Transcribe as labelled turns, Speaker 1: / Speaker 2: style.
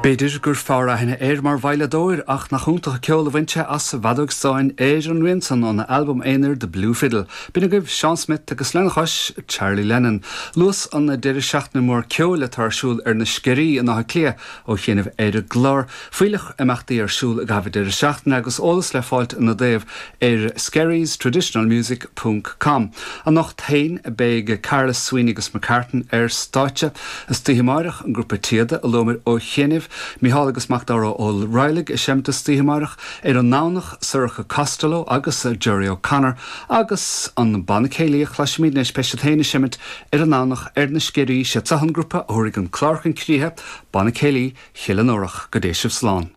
Speaker 1: B'fhéidir gur fearr aithne air mar veidhleadóir ach nach iontach an ceol a bhain sé as an bhfeadóg stáin ar an rian san óna albam aonair The Blue Fiddle. B'in agaibh Seán Smith agus lena chois, Charlie Lennon. Luas an deireadh seachtaine mór ceoil atá ar siúl ar na Sceirí in Áth Cliath ó chianaibh ar an gclár. Fuílleach imeachtaí ar siúl i gcaitheamh an deireadh seachtaine agus eolas le fáilt ina dtaobh ar skerriestraditionalmusic ponc com. Anocht féin beidh Carlos Sweeney agus McCartan ar stáitse. Istoíche amáireach, an grúpa Téada a luamar ó chianaibh, Mícheál agus Macdara Ó Raghallaigh ag seimint istoíche amáireach. Ar an nDomhnach, Sorcha Costello agus Gerry O'Connor agus an banna céilí a chloisfimid anois, beidh siad féin ag seimint ar an nDomhnach ar na Sceirí. Siad seo an grúpa a thabharfaidh an clár chun críche, Banna Céilí Chill an Órach. Go dté sibh slán.